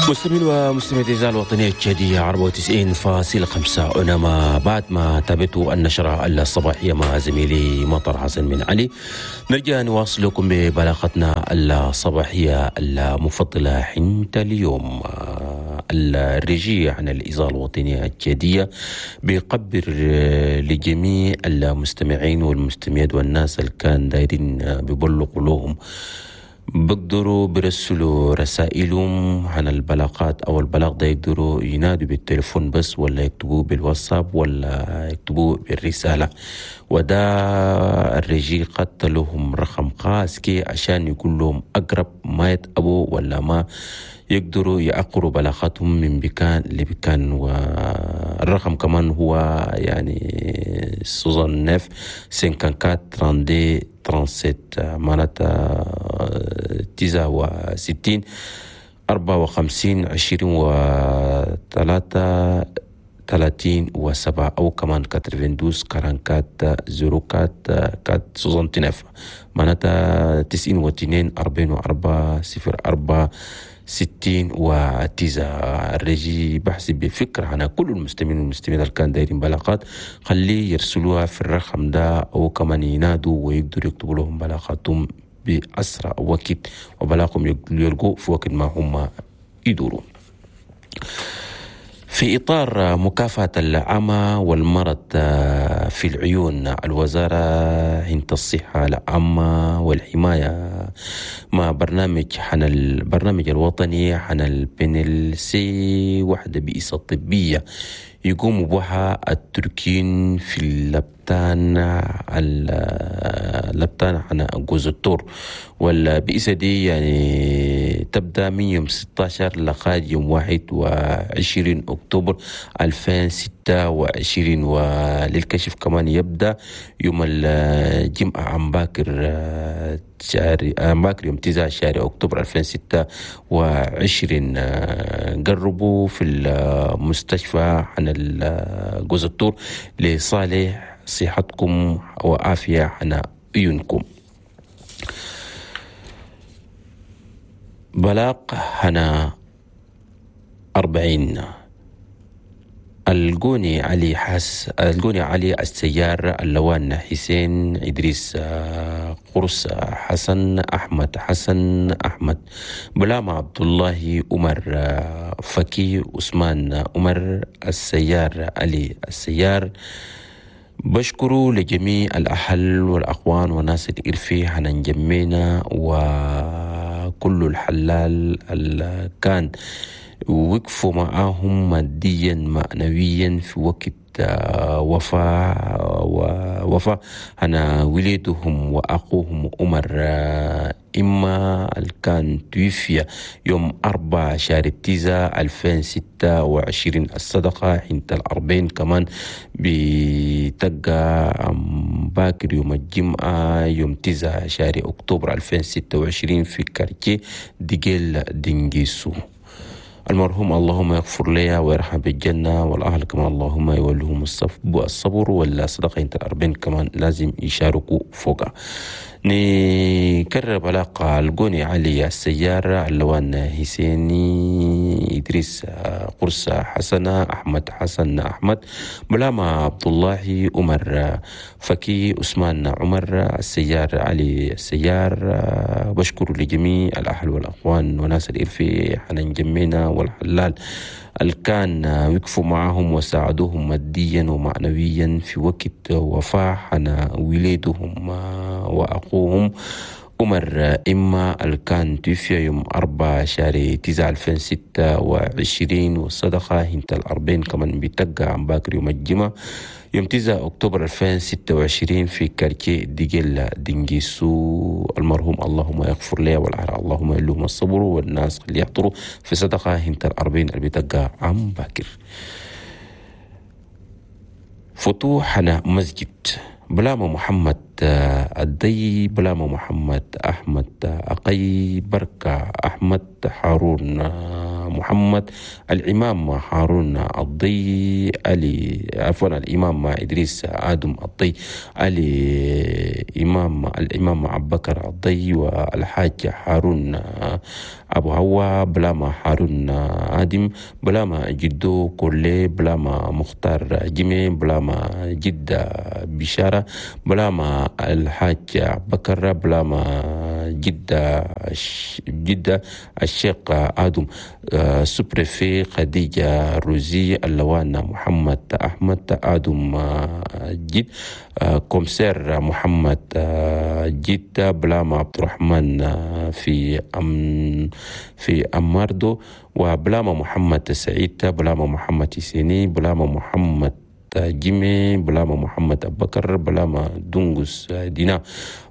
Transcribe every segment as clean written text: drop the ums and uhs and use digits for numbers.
مستمعين ومستمعات الإذاعة الوطنية التشادية 94.5، أنا ما بعد ما تابعتوا النشرة الصباحية مع زميلي مطر حسن من علي، نرجع نواصل لكم ببلاغتنا الصباحية المفضلة حتى اليوم. ال régie عن الإذاعة الوطنية التشادية بيقبر لجميع المستمعين والمستمعات والناس اللي كان دايرين بيبلغوا لهم، بيقدروا بيرسلوا رسائلهم عن البلاغات او البلاغ ده، يقدروا ينادوا بالتليفون بس ولا يكتبوه بالواتساب ولا يكتبوه بالرسالة. وده ال régie خت لهم رقم خاص كي عشان يكون لهم أقرب، ما يتعبوا ولا ما يقدروا يأقروا بلاغاتهم من بكان لبكان. والرقم كمان هو يعني 69 54 32 37، معناتها 69 54 23 37، أو كمان 92 44 04 4 69، معناتها 92 44 04 69. ال régie بحسب بفكرة عن كل المستمعين والمستمعين اللي كان دايرين بلاغات، خليه يرسلوها في الرقم ده أو كمان ينادوا ويقدروا يكتبوا لهم بلاغاتهم بأسرع وقت، وبلاغهم يلقوا في وقت ما هم يدوروا. في إطار مكافحة العمى والمرض في العيون، الوزارة عند الصحة العامة والحماية مع برنامج حن البرنامج الوطني حن ال PNLC، وحدة بيئة الطبية يقوم بها التركين في اللبتان عن جوز التور. والبئسة دي يعني تبدأ من يوم 16 لغاية يوم 21 أكتوبر 2026، وللكشف كمان يبدأ يوم الجمعة عن باكر شهر عن باكر يوم 9 شهر أكتوبر 2026. قربوا في المستشفى عن جوز التور لصالح صحتكم وعافية عن عيونكم. بلاغ هنا 40، الجوني علي حس الجوني علي السيار، اللوان حسين إدريس قرص حسن أحمد حسن أحمد بلام عبد الله عمر فكي عثمان عمر السيار علي السيار. بشكروا لجميع الأهل والأخوان وناس الإرفي هننجمينا وكل الحلال اللي كان وقفوا معاهم ماديا معنويا في وقت وفاة ووفاة أنا وليدهم وأخوهم عمر إما كان توفي يوم 4 شهر 9 2026. الصدقة حين 40 كمان بتقى باكر يوم الجمعة يوم 9 شهر أكتوبر 2026 في quartier ديجيل دينجيسو. المرحوم اللهم يغفر لي ويرحم بالجنة، والأهل كمان اللهم يولهم الصبر، والصدقة انت 40 كمان لازم يشاركوا فوقها. نكرر بلاقة الجوني علي السيارة، اللوان حسيني إدريس قرص حسنة أحمد حسن أحمد بلامة عبد الله عمر فكي عثمان عمر السيار علي السيار. بشكر لجميع الأهل والأخوان وناس الإرفي حنان جمينا والحلال اللي كان وقفوا معهم وساعدوهم ماديا ومعنويا في وقت وفاة حنا وليدهم وأخوهم عمر إما اللي كان توفي يوم 4 شهر 9 2026. والصدقة هنت 40 كمان بتقع عن باكر يوم الجمعة يوم 9 أكتوبر 2026 في quartier ديجيل دينجيسو. المرحوم اللهم يغفر لي والأهل اللهم يلهم الصبر، والناس اللي يحضروا في صدقة هنت 40 اللي بتقع عن باكر. فتوحنا مسجد بلامة محمد الدي، بلامة محمد أحمد أقي، بركة أحمد، هارون محمد، الإمام هارون الضي علي، عفوا الإمام إدريس آدم الضي علي، الإمام أبو بكر الضي، والحاج هارون أبو هوا، بلاما هارون آدم، بلاما جدو كولي، بلاما مختار جيمي، بلاما جدة بشارة، بلاما الحاج بكر، بلاما جدة الشيخ آدم، sous-préfet خديجة روزي، اللوان محمد أحمد آدم جد، commissaire محمد جد، بلاما عبد الرحمن في أماردو، وبلاما محمد سعيد، بلاما محمد سيني، بلاما محمد جيمي، بلاما محمد أبو بكر، بلاما دونغوس دينا،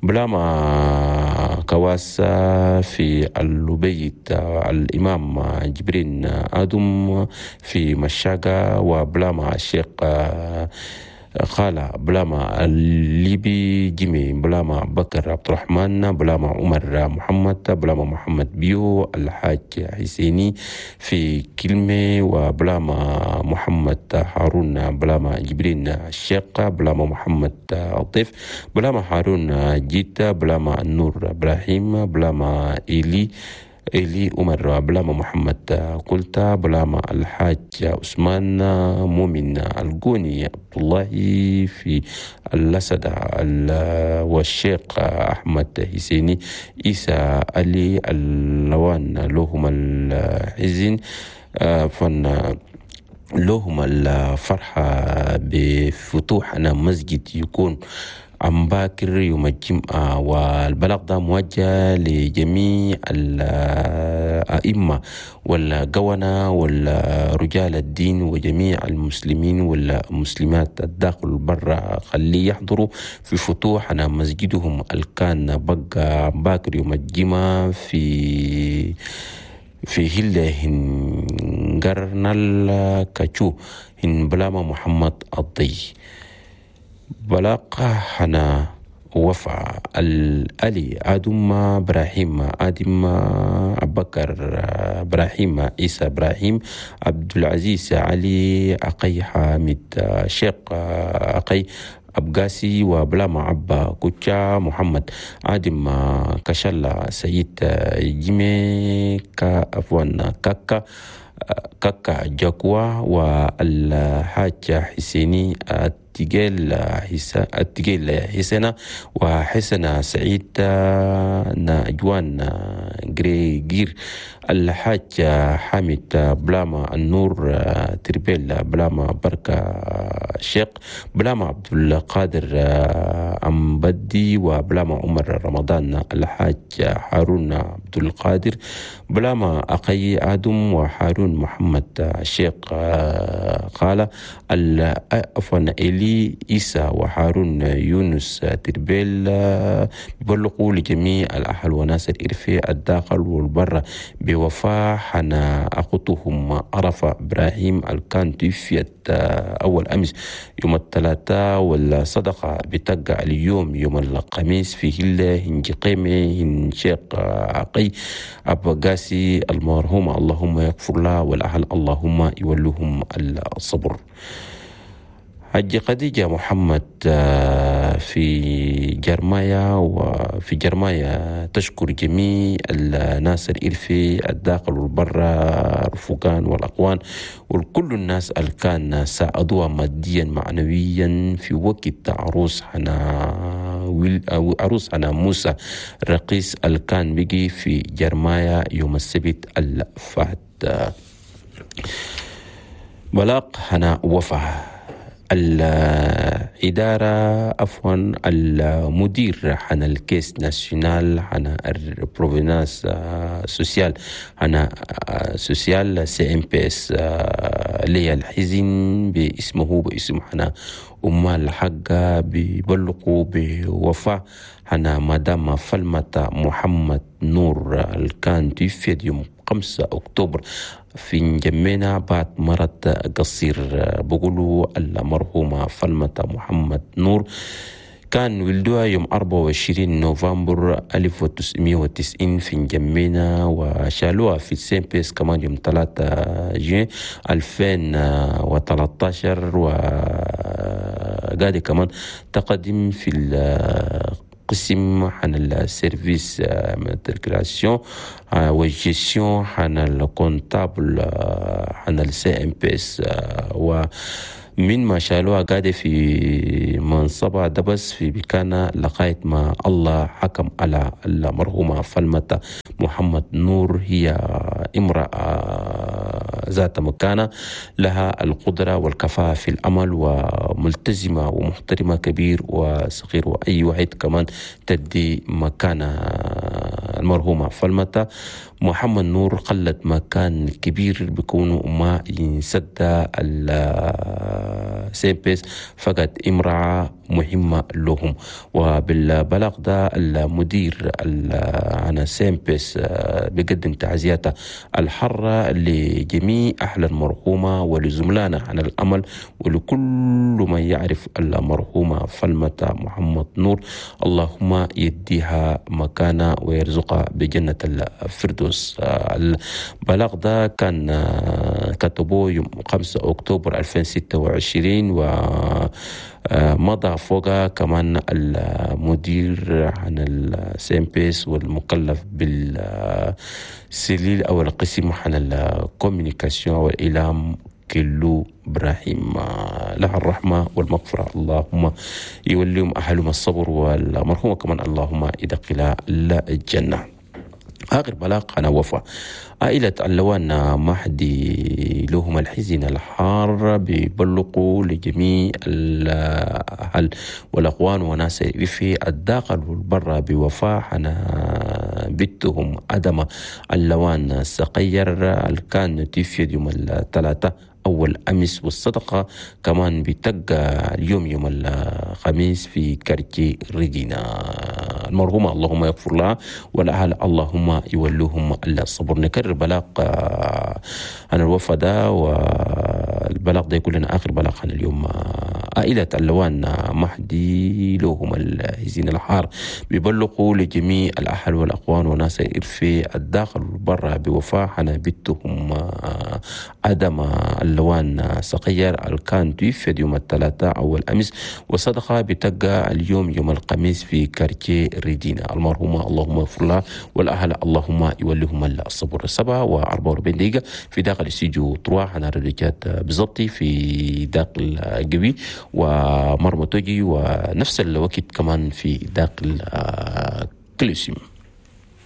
بلاما كواسا في اللبيت، الإمام جبرين آدم في مشاقة، وبلاما الشيخ خالة، بلاما الليبي جيمي، بلاما بكر عبد الرحمن، بلاما عمر محمد، بلاما محمد بيو، الحاج حسيني في كلمة، وبلاما محمد هارون، بلاما جبرين الشيخ، بلاما محمد الضيف، بلاما هارون جيتا، بلاما النور إبراهيم، بلاما إلي عمر، بلاما محمد قلتا، بلاما الحاج عثمان مؤمن الجوني عبد الله في اللسدة، والشيخ أحمد حسيني عيسى علي اللوان لهم الحزن فن لهم الفرحة بفتوحنا مسجد يكون عم باكر يوم الجمعة. والبلاغ ده موجه لجميع الأئمة والقونة والرجال الدين وجميع المسلمين والمسلمات الداخل برا، خليه يحضروا في فتوحنا مسجدهم الكان بقى باكر يوم الجمعة في هلة هنقرنال كاتشو هن بلاما محمد الضي. بلاقة حنا وفا الألي آدم إبراهيم آدم أبكر إبراهيم عيسى إبراهيم عبد العزيز علي أقي حامد شيخ أقي أبقاسي، وبلاما عبا كوتشا محمد آدم كشلا سيد جيمي كأفوان كاكا كاكا جاكوا، والحاج حسيني التجيل حسنة، وحسنة سعيد نجوان غريغير، الحاج حامد بلاما النور تربيل، بلاما بركة الشيخ، بلاما عبد القادر أمبدي، وبلاما عمر رمضان، الحاج هارون عبد القادر، بلاما أقي آدم، وهارون محمد الشيخ خالة عفوا إلي إيسا، وهارون يونس تربيل. بلغوا لجميع الأهل وناس الإرفي الداخل والبر بوفاة حنا أخوتهم عرفة إبراهيم الكان توفيت أول أمس يوم الثلاثاء، والصدقة بتقع اليوم يوم الخميس في هلة هنجقيمة هنشيق عقي أبو قاسي المرحوم، اللهم يغفر له والأهل اللهم يولوهم الصبر. حج خديجة محمد في جرمايا، وفي جرمايا تشكر جميع الناس الإرفي الداخل والبرا، الرفقان والأقوان، وكل الناس اللي كان ساعدوها ماديا معنويا في وقت عروس حنا موسى رقيس اللي كان بيجي في جرمايا يوم السبت الفات. بلاغ حنا وفا الإدارة عفوا المدير حنا ال caisse nationale حنا ال prévoyance sociale حنا sociale CNPS لي الحزن باسمه باسم حنا أمال حقا بيبلغوا بوفاة حنا مدام فلمة محمد نور الكان توفيت يوم 5 أكتوبر في نجمينا بعد مرض قصير. بقولوا المرحومة فلمة محمد نور كان ولدوها يوم 24 نوفمبر 1990 في نجمينا، وشالوها في ال CNPS كمان يوم 3 جوين 2013، وقاعدة كمان تقدم في القسم عن ال service matriculation وال gestion عن ال comptable عن ال CNPS. و من ما شالوها قاعدة في منصبها دبس في بكانة لغاية ما الله حكم على المرحومة فلمة محمد نور. هي امرأة ذات مكانة، لها القدرة والكفاءة في العمل، وملتزمة ومحترمة كبير وصغير، وأي واحد كمان تدي مكانة. المرحومة فلمة محمد نور خلت مكان كبير بكونه ما ينسد ال CNPS، فقد امرأة مهمة لهم. وبالبلاغ ده المدير عن CNPS بيقدم تعزياته الحارة لجميع أهل المرحومة ولزملائنا عن الأمل ولكل من يعرف المرحومة فلمة محمد نور. اللهم يديها مكانة ويرزقها بجنة الفردوس. البلاغ ده كان كتبوه يوم 5 أكتوبر 2026، و مضى فوقها كمان المدير عن ال CNPS والمكلف بال cellule أو القسم عن ال communication والإعلام كلو إبراهيم. لها الرحمة والمغفرة، اللهم يوليهم أهلهم الصبر، والمرحومة كمان اللهم يدخلها الجنة. آخر بلاغ عن وفاة عائلة اللوان مهدي لهم الحزن الحار، بيبلغوا لجميع الأهل والأخوان وناس في الداخل والبر بوفاة عن بنتهم أدم اللوان الصغير كان توفي يوم الثلاثاء أول أمس، والصدقة كمان بتقى اليوم يوم الخميس في quartier ريجينا. المرحومة اللهم يغفر لها والأهل اللهم يولوهم الصبر. نكرر بلاغ عن الوفاة ده، والبلاغ ده يكون لنا آخر بلاغ عن اليوم. عائلة اللوان مهدي لهم الحزين الحار بيبلغوا لجميع الأهل والأخوان وناس في الداخل والبر بوفاة عن بنتهم أدم اللوان صغير الكان توفي يوم الثلاثاء أول أمس، وصدقة بتقى اليوم يوم الخميس في quartier ريدينا. المرحومة اللهم اغفر لها والأهل اللهم يوليهم الصبر. 7:44 في داخل استوديو 3 عن الرجال بالضبط في داخل قبي ومرمى توجي، ونفس الوقت كمان في داخل كليسيوم.